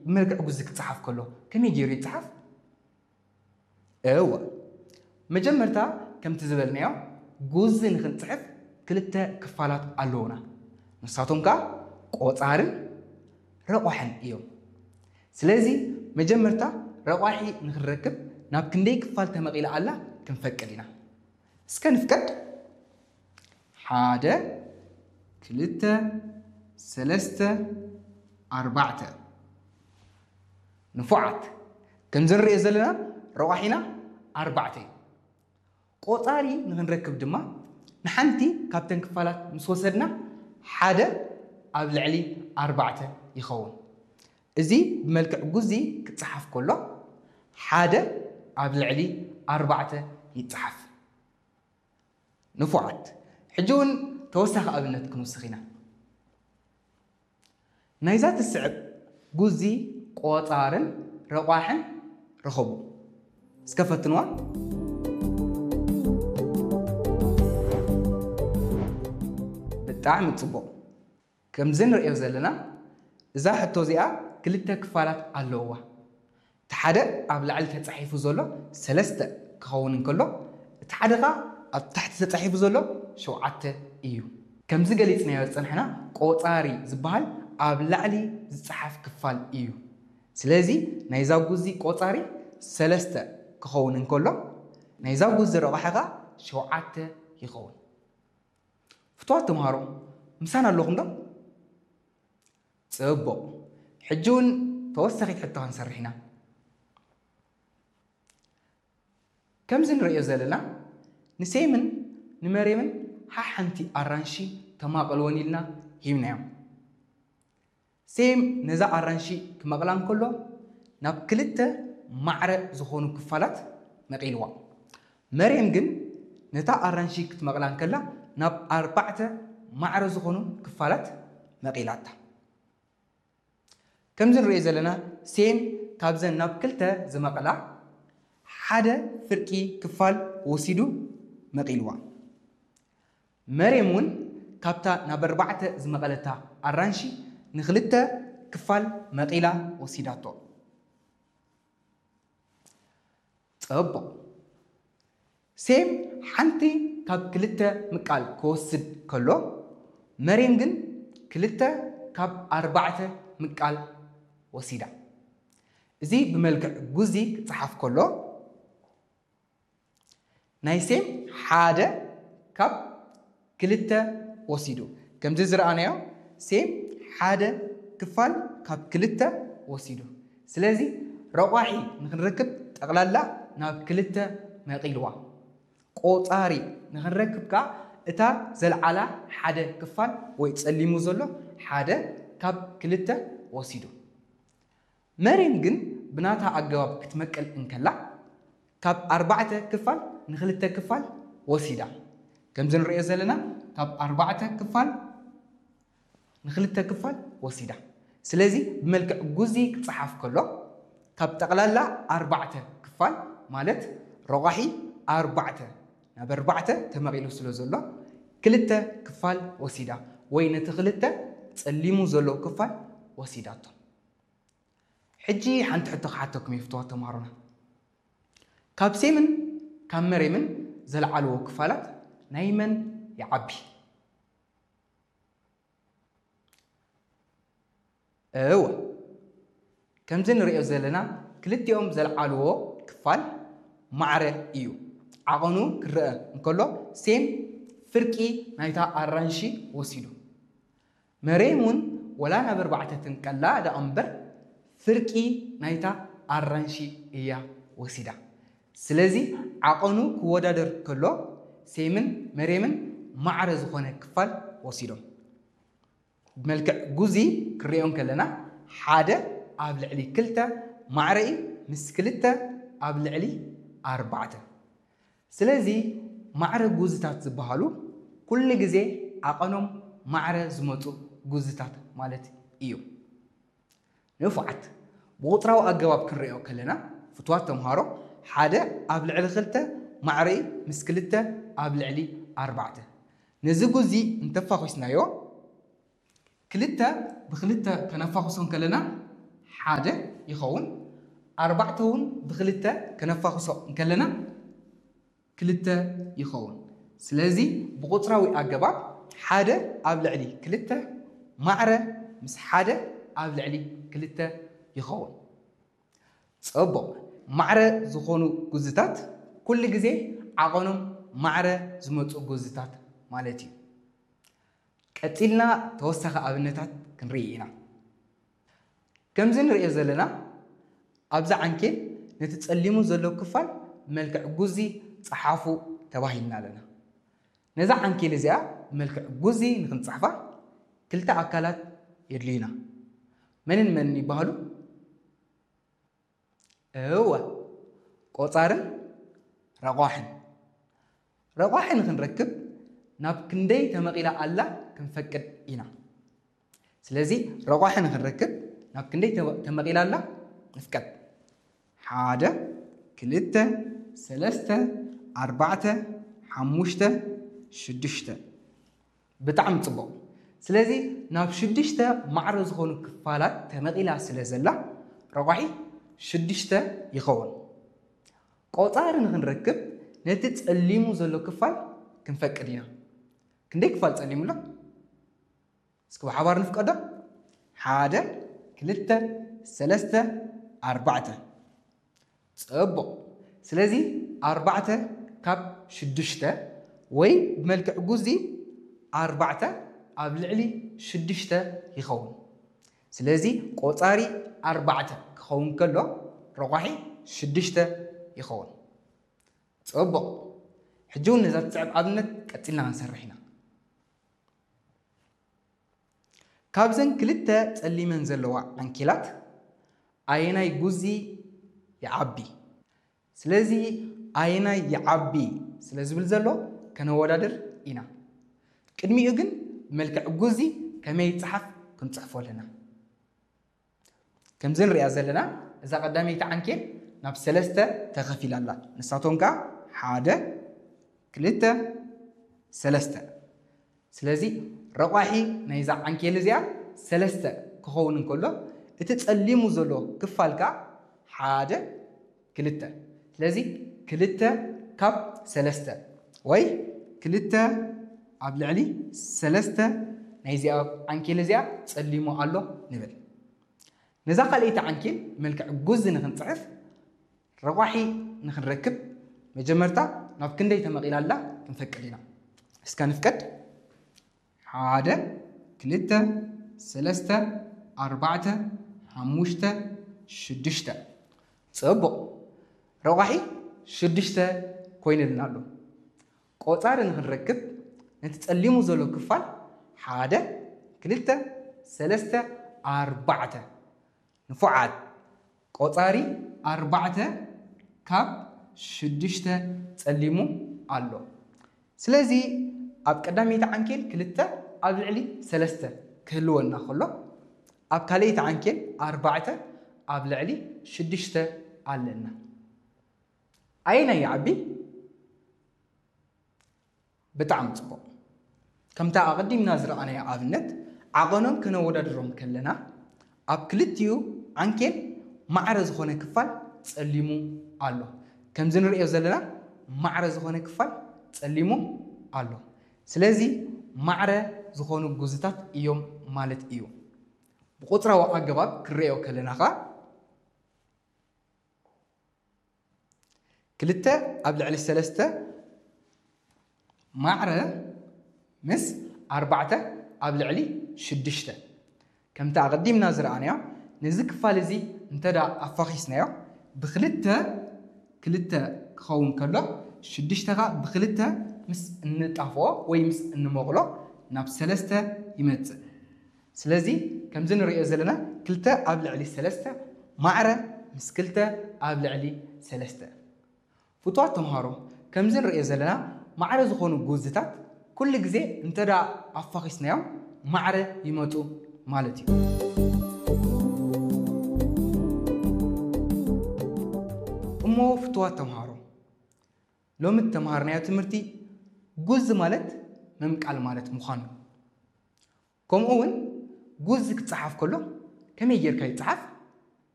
ብመልክዕ ጉዚ ክጸሓፍ ከሎ ከመይ ገይሩ ይጸሓፍ? እወ፣ መጀመርታ ከምቲ ዝበልናዮ ጉዚ ንኽንጽሕፍ ክልተ ክፋላት ኣለዉና። ንሳቶም ከኣ ቆጻርን ረቋሕን እዮም። ስለዚ መጀመርታ ረቋሒ ንኽንረክብ ናብ ክንደይ ክፋል ተመቒላ ኣላ ክንፈቅድ ኢና። እስከ ንፍቀድ። ሓደ፣ ክልተ፣ ሰለስተ፣ ኣርባዕተ። ንፉዓት። ከምዚ ንሪኦ ዘለና ረቋሒና ኣርባዕተ እዩ። ቆጻሪ ንኽንረክብ ድማ ንሓንቲ ካብተን ክፋላት ምስ ወሰድና ሓደ ኣብ ልዕሊ ኣርባዕተ ይኸውን። እዚ ብመልክዕ ጉዚ ክጸሓፍ ከሎ ሓደ ኣብ ልዕሊ ኣርባዕተ ይጸሓፍ። ንፉዓት። ሕጂ እውን ተወሳኺ ኣብነት ክንውስኽ ኢና። ናይዛ ትስዕብ ጉዚ ቆጻርን ረቋሕን ርኸቡ። እስከ ፈትንዋ። ብጣዕሚ ጽቡቕ። ከምዚ ንርእዮ ዘለና እዛ ሕቶ እዚኣ ክልተ ክፋላት ኣለውዋ። እቲ ሓደ ኣብ ላዕሊ ተጻሒፉ ዘሎ ሰለስተ ክኸውን እንከሎ፣ እቲ ሓደ ኸኣ ኣብ ታሕቲ ተጻሒፉ ዘሎ ሸውዓተ እዩ። ከምዚ ገሊጽናዮ ዝጸናሕና ቆጻሪ ዝበሃል ኣብ ላዕሊ ዝጸሓፍ ክፋል እዩ። ስለዚ ናይዛ ጉዚ ቆጻሪ ሰለስተ ክኸውን እንከሎ፣ ናይዛ ጉዚ ረቋሒ ኸኣ ሸውዓተ ይኸውን። ፍትዋት ተምሃሮ፣ ምሳና ኣለኹም ዶ? ጽቡቕ። ሕጂ እውን ተወሳኺት ሕቶ ክንሰርሕ ኢና። ከምዚ ንርእዮ ዘለና ንሴምን ንመሬምን ሓሓንቲ ኣራንሺ ተማቐልወን ኢልና ሂብናዮም። ሴም ነዛ ኣራንሺ ክመቕላ እንከሎ ናብ ክልተ ማዕረ ዝኾኑ ክፋላት መቒልዋ። መሬም ግን ነታ ኣራንሺ ክትመቕላ እንከላ ናብ ኣርባዕተ ማዕረ ዝኾኑ ክፋላት መቒላታ። ከምዚ ንርእዮ ዘለና ሴም ካብዘን ናብ ክልተ ዝመቐላ ሓደ ፍርቂ ክፋል ወሲዱ መቒልዋ። መሬም እውን ካብታ ናብ ኣርባዕተ ዝመቐለታ ኣራንሺ ንኽልተ ክፋል መቒላ ወሲዳቶ። ጽቡቕ። ሴም ሓንቲ ካብ ክልተ ምቃል ክወስድ ከሎ፣ መሬም ግን ክልተ ካብ ኣርባዕተ ምቃል ወሲዳ። እዚ ብመልክዕ ጉዚ ክጸሓፍ ከሎ፣ ናይ ሴም ሓደ ካብ ክልተ ወሲዱ። ከምዚ ዝረኣናዮ ሴም ሓደ ክፋል ካብ ክልተ ወሲዱ። ስለዚ ረቋሒ ንኽንረክብ ጠቕላላ ናብ ክልተ መቒልዋ። ቆጻሪ ንኽንረክብ ከኣ እታ ዘልዓላ ሓደ ክፋል ወይ ጸሊሙ ዘሎ ሓደ ካብ ክልተ ወሲዱ። መሬም ግን ብናታ ኣገባብ ክትመቅል እንከላ ካብ ኣርባዕተ ክፋል ንኽልተ ክፋል ወሲዳ። ከምዚ ንርእዮ ዘለና ካብ ኣርባዕተ ክፋል ንኽልተ ክፋል ወሲዳ። ስለዚ ብመልክዕ ጉዚ ክጸሓፍ ከሎ ካብ ጠቕላላ ኣርባዕተ ክፋል ማለት ረቋሒ ኣርባዕተ ናብ ኣርባዕተ ተመቒሉ ስለ ዘሎ ክልተ ክፋል ወሲዳ ወይ ነቲ ክልተ ጸሊሙ ዘሎ ክፋል ወሲዳቶ። ሕጂ ሓንቲ ሕቶ ክሓተኩም እየ ፍትዋት ተምሃሮና። ካብ ሴምን ካብ መሬምን ዘልዓልዎ ክፋላት ናይ መን ይዓቢ? እወ፣ ከምዚ ንርእዮ ዘለና ክልቲኦም ዘልዓልዎ ክፋል ማዕረ እዩ። ዓቐኑ ክረአ እንከሎ ሴም ፍርቂ ናይታ ኣራንሺ ወሲዱ። መሬም እውን ወላ ናብ ኣርባዕተ ትንቀላ ደኣ እምበር ፍርቂ ናይታ ኣራንሺ እያ ወሲዳ። ስለዚ ዓቐኑ ክወዳደር ከሎ ሴምን መሬምን ማዕረ ዝኾነ ክፋል ወሲዶም። ብመልክዕ ጉዚ ክንሪኦ እንከለና ሓደ ኣብ ልዕሊ ክልተ ማዕረ እዩ ምስ ክልተ ኣብ ልዕሊ ኣርባዕተ። ስለዚ ማዕረ ጉዝታት ዝበሃሉ ኩሉ ግዜ ዓቐኖም ማዕረ ዝመጹ ጉዝታት ማለት እዩ። ንፉዓት። ብቑጽራዊ ኣገባብ ክንሪኦ ከለና ፍትዋት ተምሃሮ ሓደ ኣብ ልዕሊ ክልተ ማዕረ እዩ ምስ ክልተ ኣብ ልዕሊ ኣርባዕተ። ነዚ ጉዚ እንተፋኺስናዮ ክልተ ብክልተ ከነፋኹሶ እንከለና ሓደ ይኸውን። ኣርባዕተ እውን ብክልተ ከነፋኽሶ እንከለና ክልተ ይኸውን። ስለዚ ብቁፅራዊ ኣገባብ ሓደ ኣብ ልዕሊ ክልተ ማዕረ ምስ ሓደ ኣብ ልዕሊ ክልተ ይኸውን። ፅቡቕ። ማዕረ ዝኾኑ ጉዝታት ኩሉ ግዜ ዓቐኖም ማዕረ ዝመፁ ጉዝታት ማለት እዩ። ቀፂልና ተወሳኺ ኣብነታት ክንርኢ ኢና። ከምዚ ንሪኦ ዘለና ኣብዛ ዓንኬል ነቲ ፀሊሙ ዘሎ ክፋል ብመልክዕ ጉዚ ፀሓፉ ተባሂልና ኣለና። ነዛ ዓንኬል እዚኣ ብመልክዕ ጉዚ ንክንፅሕፋ ክልተ ኣካላት የድልዩና። መንን መንን ይበሃሉ? እወ፣ ቆፃርን ረቋሕን። ረቋሒ ንክንረክብ ናብ ክንደይ ተመቒላ ኣላ ክንፈቅድ ኢና። ስለዚ ረቋሒ ንክንረክብ ናብ ክንደይ ተመ- ተመቒላ ኣላ ንፍቀድ። ሓደ፣ ክልተ፣ ሰለስተ፣ ኣርባዕተ፣ ሓሙሽተ፣ ሽዱሽተ። ብጣዕሚ ፅቡቕ። ስለዚ ናብ ሽዱሽተ ማዕረ ዝኾኑ ክፋላት ተመቒላ ስለ ዘላ ረቋሒ ሽዱሽተ ይኸውን። ቆፃሪ ንክንረክብ ነቲ ፀሊሙ ዘሎ ክፋል ክንፈቅድ ኢና። ክንደይ ክፋል ፀሊሙ ኣሎ? እስኪ ብሓባር ንፍቀዶ። ሓደ፣ ክልተ፣ ሰለስተ፣ ኣርባዕተ። ፅቡቕ። ስለዚ ኣርባዕተ ካብ ሽዱሽተ ወይ ብመልክዕ ጉዚ ኣርባዕተ ኣብ ልዕሊ ሽዱሽተ ይኸውን። ስለዚ ቆፃሪ ኣርባዕተ ክኸውን ከሎ ረቋሒ ሽዱሽተ ይኸውን። ፅቡቕ። ሕጂ እውን ነዛ ትስዕብ ኣብነት ቀፂልና ክንሰርሕ ኢና። ካብዘን ክልተ ፀሊመን ዘለዋ ዓንኬላት ኣየናይ ጉዚ ይዓቢ? ስለዚ ኣየናይ ይዓቢ ስለ ዝብል ዘሎ ከነወዳድር ኢና። ቅድሚኡ ግን ብመልክዕ ጉዚ ከመይ ይፀሓፍ ክንፅሕፎ ኣለና። ከምዚ ንሪኣ ዘለና እዛ ቀዳመይቲ ዓንኬል ናብ ሰለስተ ተኸፊላ ኣላ። ንሳቶም ከኣ ሓደ፣ ክልተ፣ ሰለስተ። ስለዚ ረቋሒ ናይዛ ዓንኬል እዚኣ ሰለስተ ክኸውን እንከሎ እቲ ጸሊሙ ዘሎ ክፋል ከኣ ሓደ፣ ክልተ። ስለዚ ክልተ ካብ ሰለስተ ወይ ክልተ ኣብ ልዕሊ ሰለስተ ናይዚኣ ዓንኬል እዚኣ ጸሊሙ ኣሎ ንብል። ነዛ ካልኣይቲ ዓንኬል መልክዕ ጉዚ ንክንፅሕፍ ረቋሒ ንክንረክብ መጀመርታ ናብ ክንደይ ተመቒላ ኣላ ክንፈቅድ ኢና። እስከ ንፍቀድ። ሓደ፣ ክልተ፣ ሰለስተ፣ ኣርባዕተ፣ ሓሙሽተ፣ ሽዱሽተ። ፅቡቕ። ረቋሒ ሽዱሽተ ኮይኑልና ኣሎ። ቆፃሪ ንክንረክብ ነቲ ፀሊሙ ዘሎ ክፋል ሓደ፣ ክልተ፣ ሰለስተ፣ ኣርባዕተ። ንፉዓት። ቆፃሪ ኣርባዕተ ካብ ሽዱሽተ ፀሊሙ ኣሎ። ስለዚ ኣብ ቀዳመይቲ ዓንኬል ክልተ ኣብ ልዕሊ ሰለስተ ክህልወና ከሎ ኣብ ካልኣይቲ ዓንኬል ኣርባዕተ ኣብ ልዕሊ ሽዱሽተ ኣለና። ኣየናይ ይዓቢ? ብጣዕሚ ጽቡቕ። ከምታ ኣቐዲምና ዝረኣናዮ ኣብነት ዓቐኖም ከነወዳድሮም ከለና ኣብ ክልቲኡ ዓንኬል ማዕረ ዝኾነ ክፋል ጸሊሙ ኣሎ። ከምዚ ንርእዮ ዘለና ማዕረ ዝኾነ ክፋል ጸሊሙ ኣሎ። ስለዚ ማዕረ ዝኾኑ ጉዝታት እዮም ማለት እዩ። ብቁጽራዊ ኣገባብ ክንርእዮ ከለና ኸኣ ክልተ ኣብ ልዕሊ ሰለስተ ማዕረ ምስ ኣርባዕተ ኣብ ልዕሊ ሽዱሽተ። ከምቲ ኣቐዲምና ዝረኣናዮ፣ ነዚ ክፋል እዚ እንተ ደኣ ኣፋኺስናዮ፣ ብክልተ ክልተ ክኸውን ከሎ፣ ሽዱሽተ ኸኣ ብክልተ ምስ እንጣፍኦ ወይ ምስ እንመቕሎ ናብ ሰለስተ ይመጽእ። ስለዚ ከምዚ ንርእዮ ዘለና ክልተ ኣብ ልዕሊ ሰለስተ ማዕረ ምስ ክልተ ኣብ ልዕሊ ሰለስተ። ፍቱዋት ተምሃሮ፣ ከምዚ ንርእዮ ዘለና ማዕረ ዝኾኑ ጉዝታት ኩሉ ግዜ እንተ ደኣ ኣፋኺስናዮም ማዕረ ይመጹ ማለት እዩ። እሞ ፍቱዋት ተምሃሮ፣ ሎሚ እተምሃርናዮ ትምህርቲ ጉዚ ማለት ምምቃል ማለት ምዃኑ፣ ከምኡ እውን ጉዚ ክጸሓፍ ከሎ ከመይ ጌርካ ይጸሓፍ፣